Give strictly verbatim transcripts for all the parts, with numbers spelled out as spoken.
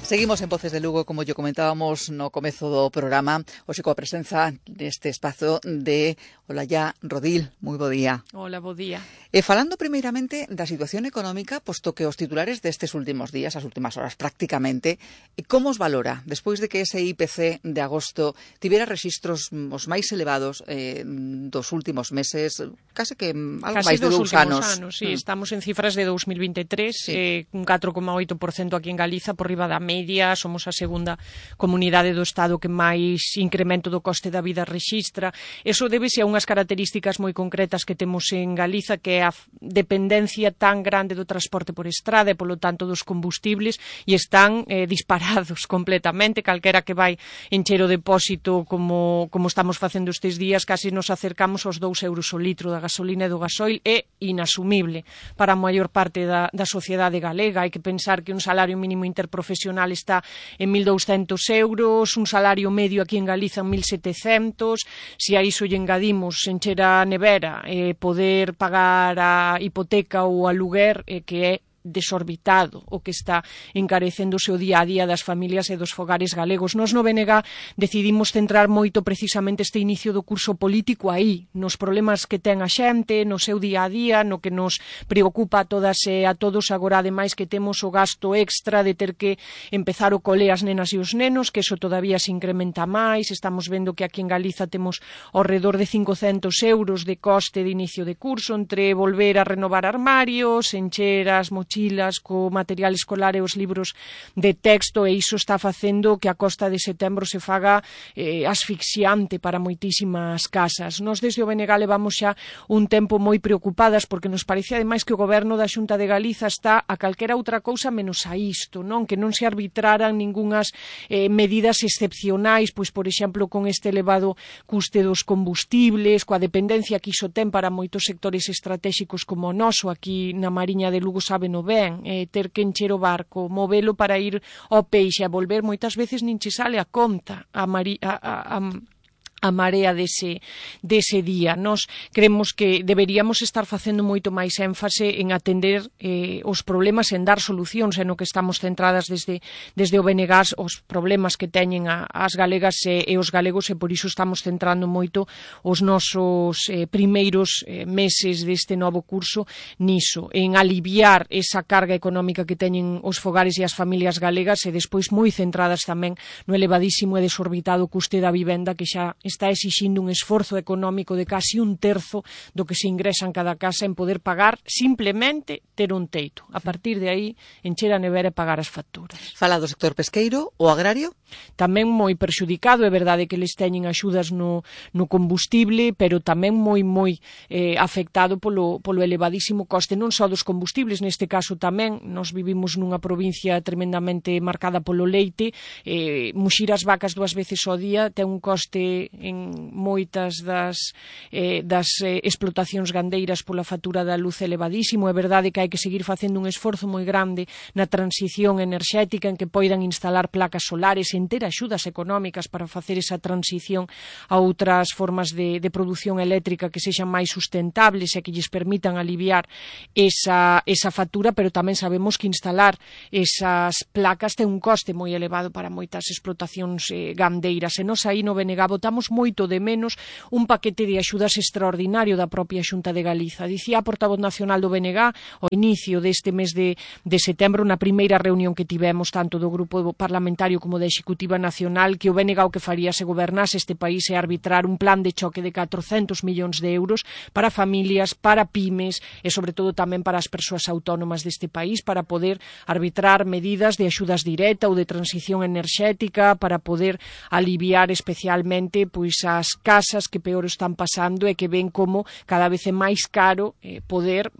Seguimos en Voces de Lugo, como yo comentábamos no comezo do programa, hoxe coa presenza neste espazo de Olalla Rodil. Moi bo día. Hola, bo día. E falando primeiramente da situación económica, posto que os titulares destes últimos días, as últimas horas prácticamente, como os valora, despois de que ese I P C de agosto tivera rexistros os máis elevados eh, dos últimos meses, case que algo Casi máis de dos dous anos. anos, sí, mm. Estamos en cifras de dos mil veintitrés, sí. eh, un catro coma oito por cento aquí en Galiza, por riba da media, somos a segunda comunidade do Estado que máis incremento do coste da vida rexistra. Eso débese a unhas características moi concretas que temos en Galiza, que é a dependencia tan grande do transporte por estrada e, polo tanto, dos combustibles, e están eh, disparados completamente. Calquera que vai encher o depósito como, como estamos facendo estes días, casi nos acercamos aos dous euros o litro da gasolina e do gasoil. É inasumible para a maior parte da, da sociedade galega. Hai que pensar que un salario mínimo interprofesional está en mil douscentos euros, un salario medio aquí en Galiza en mil setecentos, se a iso lle engadimos encher a nevera, eh, poder pagar a hipoteca ou aluguer, eh, que é desorbitado o que está encarecéndose o día a día das familias e dos fogares galegos. Nos no B N G decidimos centrar moito precisamente este inicio do curso político aí, nos problemas que ten a xente, no seu día a día, no que nos preocupa a todas e a todos, agora ademais que temos o gasto extra de ter que empezar o cole as nenas e os nenos, que eso todavía se incrementa máis. Estamos vendo que aquí en Galiza temos ao redor de cincocentos euros de coste de inicio de curso, entre volver a renovar armarios, encher as mochilas co material escolar e os libros de texto, e iso está facendo que a costa de setembro se faga eh, asfixiante para moitísimas casas. Nos desde o B N G levamos xa un tempo moi preocupadas porque nos parece ademais que o goberno da Xunta de Galiza está a calquera outra cousa menos a isto, non? Que non se arbitraran ningunhas eh, medidas excepcionais, pois por exemplo con este elevado custe dos combustibles, coa dependencia que iso ten para moitos sectores estratégicos como o noso, aquí na Mariña de Lugo saben o ben, eh, ter que encher o barco, movelo para ir ao peixe, a volver, moitas veces nin che sale a conta a, Mari, a, a, a a marea dese, dese día. Nos creemos que deberíamos estar facendo moito máis énfase en atender eh, os problemas, en dar solucións, en o que estamos centradas desde, desde o B N G, os problemas que teñen a, as galegas e, e os galegos, e por iso estamos centrando moito os nosos eh, primeiros eh, meses deste novo curso niso, en aliviar esa carga económica que teñen os fogares e as familias galegas, e despois moi centradas tamén no elevadísimo e desorbitado custe da vivenda, que xa está exixindo un esforzo económico de casi un terzo do que se ingresa en cada casa en poder pagar simplemente ter un teito. A partir de aí, encher a nevera e pagar as facturas. Fala do sector pesqueiro, o agrario? Tamén moi perxudicado, é verdade que les teñen axudas no, no combustible, pero tamén moi, moi eh, afectado polo, polo elevadísimo coste, non só dos combustibles, neste caso tamén, nos vivimos nunha provincia tremendamente marcada polo leite, eh, muxir as vacas dúas veces ao día ten un coste en moitas das, eh, das eh, explotacións gandeiras pola factura da luz elevadísimo. É verdade que hai que seguir facendo un esforzo moi grande na transición enerxética, en que poidan instalar placas solares, en ter axudas económicas para facer esa transición a outras formas de, de produción eléctrica que sexan máis sustentables e que lles permitan aliviar esa, esa factura, pero tamén sabemos que instalar esas placas ten un coste moi elevado para moitas explotacións eh, gandeiras, e nos aí no B N G votamos moito de menos un paquete de axudas extraordinario da propia Xunta de Galiza. Dicía a portavoz nacional do B N G ao inicio deste mes de, de setembro, na primeira reunión que tivemos tanto do grupo parlamentario como da Executiva Nacional, que o B N G o que faría se gobernase este país é arbitrar un plan de choque de catrocentos millóns de euros para familias, para pymes e sobre todo tamén para as persoas autónomas deste país, para poder arbitrar medidas de axudas directa ou de transición enerxética, para poder aliviar especialmente pois as casas que peor están pasando e que ven como cada vez é máis caro eh, poder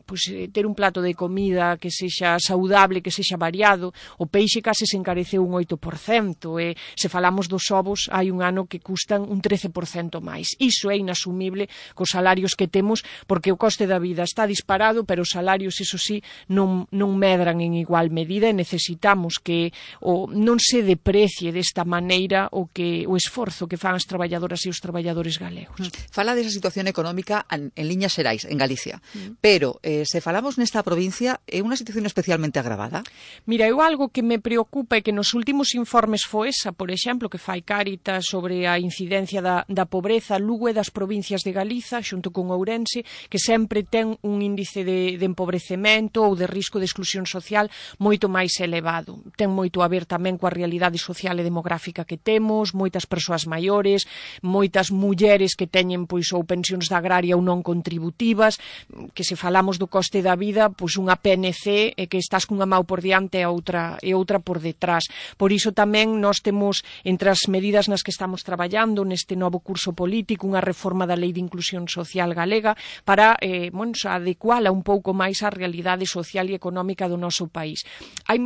pois, ter un plato de comida que sexa saudable, que sexa variado. O peixe case se encareceu un oito por cento, cento, e se falamos dos ovos hai un ano que custan un trece por cento máis. Iso é inasumible cos salarios que temos, porque o coste da vida está disparado, pero os salarios, iso sí, non, non medran en igual medida, e necesitamos que o, non se deprecie desta maneira o que o esforzo que fan as traballadoras e os traballadores galegos. Fala desa situación económica en, en liñas xerais, en Galicia, mm. pero eh, se falamos nesta provincia, é unha situación especialmente agravada? Mira, eu algo que me preocupa é que nos últimos informes FOESA, por exemplo, que fai Cáritas sobre a incidencia da, da pobreza, Lugo é das provincias de Galiza, xunto con Ourense, que sempre ten un índice de, de empobrecemento ou de risco de exclusión social moito máis elevado. Ten moito a ver tamén coa realidade social e demográfica que temos, moitas persoas maiores, moitas mulleres que teñen pois ou pensións da agraria ou non contributivas, que se falamos do coste da vida, pois unha P N C é que estás cunha mau por diante e outra, e outra por detrás. Por iso tamén nós temos entre as medidas nas que estamos traballando neste novo curso político unha reforma da Lei de Inclusión Social galega para eh, bueno, adecuala un pouco máis á realidade social e económica do noso país. Hai,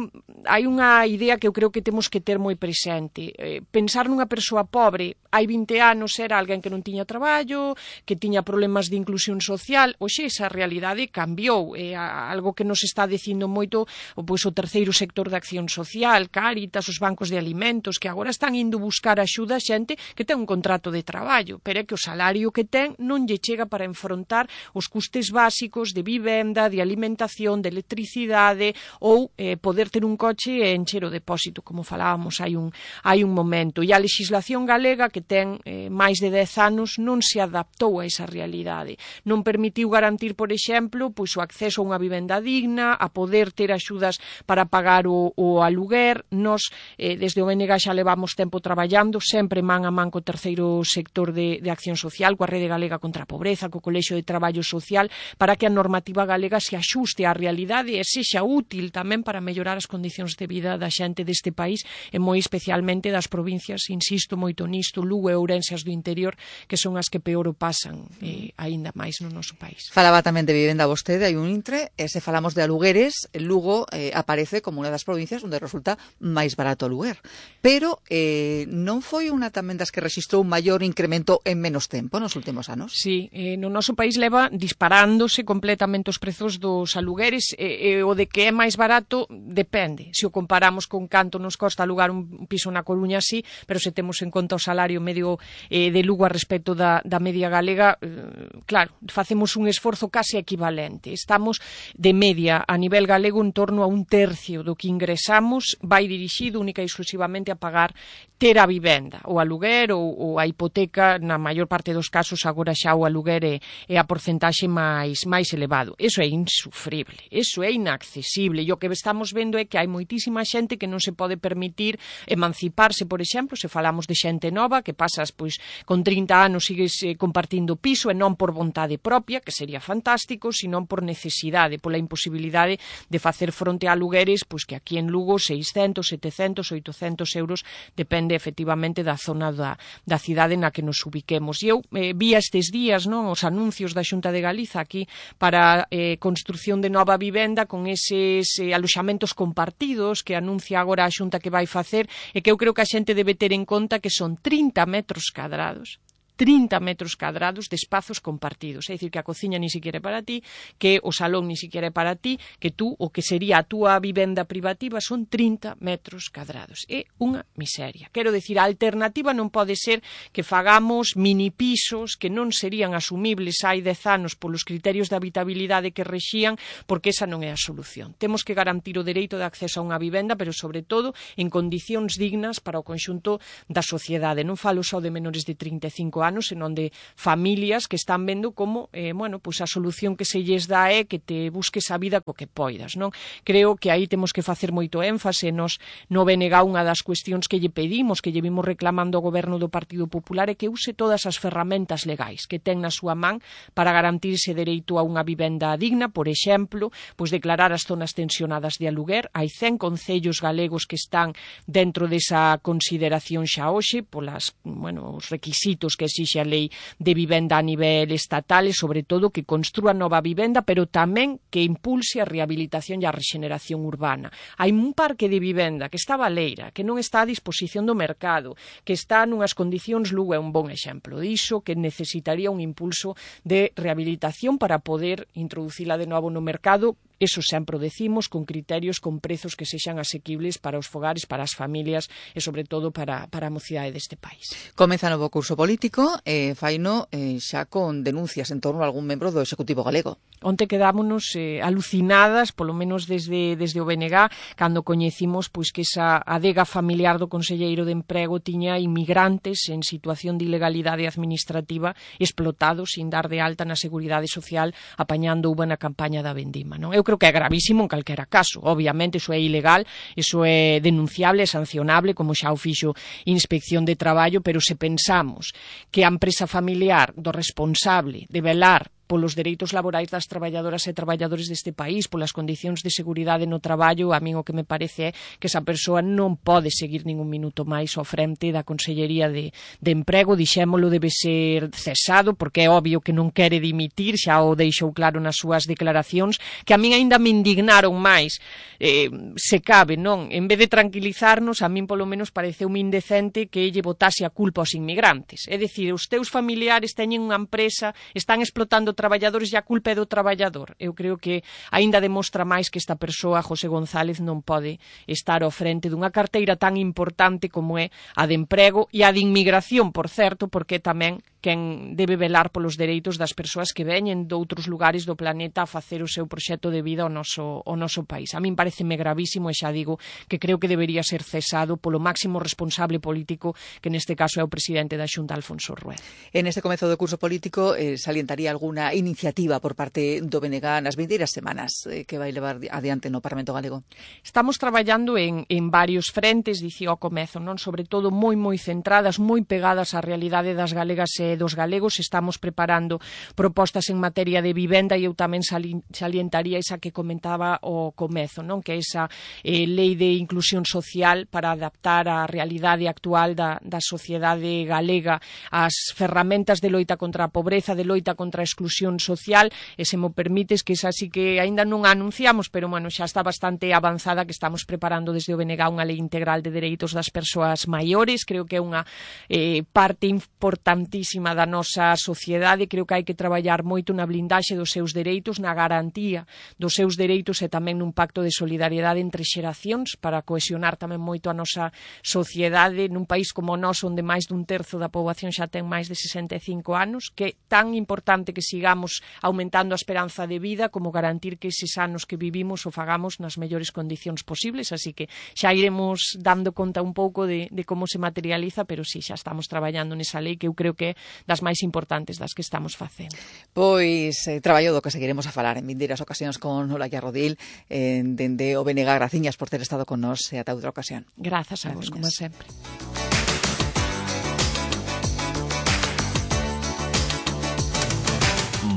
hai unha idea que eu creo que temos que ter moi presente. Eh, pensar nunha persoa pobre hai vinte anos era alguén que non tiña traballo, que tiña problemas de inclusión social. Hoxe esa realidade cambiou. É algo que nos está dicindo moito pois, o terceiro sector de acción social, Cáritas, os bancos de alimentos, que agora están indo buscar axuda a xente que ten un contrato de traballo, pero é que o salario que ten non lle chega para enfrontar os custes básicos de vivenda, de alimentación, de electricidade ou eh, poder ter un coche e encher o depósito, como falábamos hai un, hai un momento. E a legislación galega, que ten eh, máis de dez anos, non se adaptou a esa realidade. Non permitiu garantir, por exemplo, pois o acceso a unha vivenda digna, a poder ter axudas para pagar o, o aluguer. Nos, eh, desde o B N G xa levamos tempo traballando, sempre man a man co terceiro sector de, de acción social, coa Rede Galega contra a Pobreza, co Colexio de Traballo Social, para que a normativa galega se axuste á realidade e sexa útil tamén para mellorar as condicións de vida da xente deste país, e moi especialmente das provincias, insisto moito nisto, Lugo e Ourense, as do interior, que son as que peor o pasan, eh, aínda máis no noso país. Falaba tamén de vivenda vostede, hai un intre, e se falamos de alugueres, Lugo eh, aparece como unha das provincias onde resulta máis barato o aluguer. Pero eh, non foi unha tamén das que rexistrou un maior incremento en menos tempo nos últimos anos? Sí, eh, no noso país leva disparándose completamente os prezos dos alugueres, e, e o de que é máis barato depende. Se o comparamos con canto nos costa alugar un piso na Coruña, sí, pero se temos en conta o salario medio eh, de Lugo a respecto da, da media galega, eh, claro, facemos un esforzo case equivalente. Estamos de media a nivel galego en torno a un tercio do que ingresamos vai dirixido única e exclusivamente a pagar ter a vivenda, o aluguer ou, ou a hipoteca, na maior parte dos casos agora xa o aluguer é, é a porcentaxe máis, máis elevado. Eso é insufrible, eso é inaccesible, e o que estamos vendo é que hai moitísima xente que non se pode permitir emanciparse, por exemplo, se falamos de xente nova, que pasas pois con trinta anos sigues eh, compartindo piso, e non por vontade propia, que sería fantástico, sino por necesidade, pola imposibilidade de facer fronte a alugueres, pois que aquí en Lugo seiscentos, setecentos, oitocentos euros, depende efectivamente da zona da, da cidade na que nos ubiquemos. E eu eh, vi estes días non, os anuncios da Xunta de Galiza aquí para eh, construción de nova vivenda con eses eh, aloxamentos compartidos que anuncia agora a Xunta que vai facer, e que eu creo que a xente debe ter en conta que son trinta metros cadrados. trinta metros cadrados de espazos compartidos, é dicir, que a cociña ni siquiera é para ti, que o salón ni siquiera é para ti, que tú, o que sería a túa vivenda privativa son trinta metros cadrados. É unha miseria. Quero dicir, a alternativa non pode ser que fagamos mini pisos que non serían asumibles hai dez anos polos criterios de habitabilidade que rexían, porque esa non é a solución. Temos que garantir o dereito de acceso a unha vivenda, pero sobre todo en condicións dignas para o conxunto da sociedade. Non falo só de menores de trinta e cinco anos, senón de familias que están vendo como eh, bueno, pues a solución que se lles dá é que te busques a vida co que poidas, non? Creo que aí temos que facer moito énfase. Nos no B N G unha das cuestións que lle pedimos, que lle vimos reclamando ao goberno do Partido Popular, é que use todas as ferramentas legais que ten na súa man para garantir ese dereito a unha vivenda digna. Por exemplo, pois declarar as zonas tensionadas de aluguer. Hai cen concellos galegos que están dentro desa consideración xa hoxe polas, bueno, os requisitos que exixe a lei de vivenda a nivel estatal e, sobre todo, que construa nova vivenda, pero tamén que impulse a rehabilitación e a rexeneración urbana. Hai un parque de vivenda que está baleira, que non está a disposición do mercado, que está nunhas condicións, Lugo é un bon exemplo diso, que necesitaría un impulso de rehabilitación para poder introducila de novo no mercado. Eso sempre o decimos, con criterios, con prezos que sexan asequibles para os fogares, para as familias e, sobre todo, para, para a mocidade deste país. Comeza novo curso político, eh, faino eh, xa con denuncias en torno a algún membro do Executivo galego. Onte quedámonos eh, alucinadas, polo menos desde, desde o B N G, cando coñecimos pois, que esa adega familiar do Conselleiro de Emprego tiña inmigrantes en situación de ilegalidade administrativa explotados sin dar de alta na Seguridade Social, apañando uva na campaña da vendima, non? Eu creo que é gravísimo en calquera caso. Obviamente, iso é ilegal, iso é denunciable, sancionable, como xa o fixo Inspección de Traballo, pero se pensamos que a empresa familiar do responsable de velar polos dereitos laborais das traballadoras e traballadores deste país, polas condicións de seguridade no traballo, a min o que me parece é que esa persoa non pode seguir ningún minuto máis ao frente da Consellería de, de Emprego. Dixémolo, debe ser cesado, porque é obvio que non quere dimitir, xa o deixou claro nas súas declaracións, que a min aínda me indignaron máis, eh, se cabe, non? En vez de tranquilizarnos, a min polo menos pareceu indecente que lle botase a culpa aos inmigrantes. É dicir, os teus familiares teñen unha empresa, están explotando traballadores e a culpa é do traballador. Eu creo que aínda demostra máis que esta persoa, José González, non pode estar ao frente dunha carteira tan importante como é a de emprego e a de inmigración, por certo, porque tamén quen debe velar polos dereitos das persoas que veñen de outros lugares do planeta a facer o seu proxecto de vida ao noso, ao noso país. A min pareceme gravísimo e xa digo que creo que debería ser cesado polo máximo responsable político, que neste caso é o presidente da Xunta, Alfonso Rueda. En este comezo do curso político eh, salientaría alguna iniciativa por parte do B N G nas vindeiras semanas eh, que vai levar adiante no Parlamento Galego? Estamos traballando en, en varios frentes, dicía ao comezo, non? Sobre todo moi moi centradas, moi pegadas á realidade das galegas e dos galegos. Estamos preparando propostas en materia de vivenda e eu tamén salientaría esa que comentaba o comezo, non? Que é esa eh, lei de inclusión social para adaptar a realidade actual da, da sociedade galega ás ferramentas de loita contra a pobreza, de loita contra a exclusión social, e se mo permites que esa sí que aínda non a anunciamos, pero bueno, xa está bastante avanzada, que estamos preparando desde o B N G unha lei integral de dereitos das persoas maiores. Creo que é unha eh, parte importantísima da nosa sociedade. Creo que hai que traballar moito na blindaxe dos seus dereitos, na garantía dos seus dereitos e tamén nun pacto de solidariedade entre xeracións para cohesionar tamén moito a nosa sociedade nun país como o noso, onde máis dun terzo da poboación xa ten máis de sesenta e cinco anos, que é tan importante que sigamos aumentando a esperanza de vida como garantir que eses anos que vivimos o fagamos nas mellores condicións posibles. Así que xa iremos dando conta un pouco de, de como se materializa, pero sí, xa estamos traballando nesa lei que eu creo que é das máis importantes das que estamos facendo. Pois eh, traballo do que seguiremos a falar en vindeiras ocasións con Olaya Rodil, eh, dende o B N G. Graciñas por ter estado con nós e ata outra ocasión. Grazas a vos, como sempre.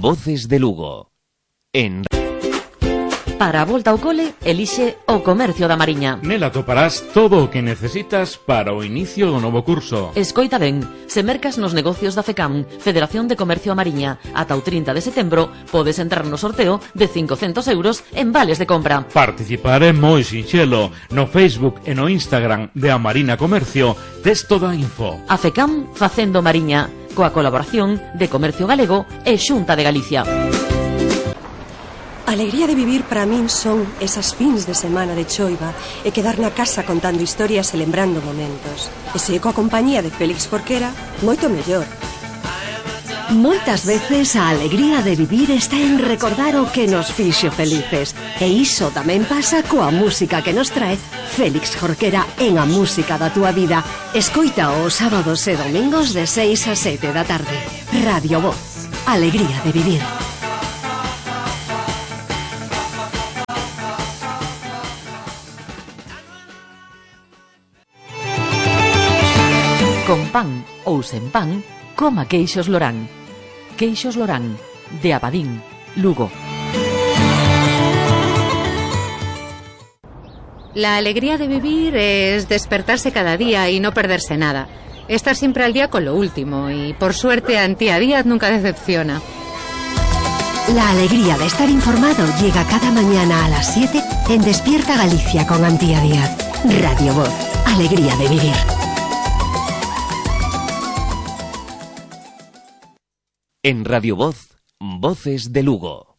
Voces de Lugo. En Para a volta ao cole, elixe o Comercio da Mariña. Nela toparás todo o que necesitas para o inicio do novo curso. Escoita ben, se mercas nos negocios da FECAM, Federación de Comercio a Mariña, ata o trinta de setembro, podes entrar no sorteo de cincocentos euros en vales de compra. Participar é moi sinxelo. No Facebook e no Instagram de A Marina Comercio tes toda a info. A FECAM facendo Mariña, coa colaboración de Comercio Galego e Xunta de Galicia. A alegría de vivir para min son esas fins de semana de choiva e quedar na casa contando historias e lembrando momentos. E se coa compañía de Félix Jorquera, moito mellor. Moitas veces a alegría de vivir está en recordar o que nos fixo felices. E iso tamén pasa coa música que nos trae Félix Jorquera en A Música da Túa Vida. Escoita os sábados e domingos de seis a sete da tarde. Radio Voz. Alegría de vivir. Con pan ou sen pan, coma queixos Lorán. Queixos Lorán, de Abadín, Lugo. La alegría de vivir es despertarse cada día y no perderse nada. Está siempre al día con lo último y, por suerte, Antía Díaz nunca decepciona. La alegría de estar informado llega cada mañana a las siete en Despierta Galicia con Antía Díaz. Radio Voz, alegría de vivir. En Radio Voz, Voces de Lugo.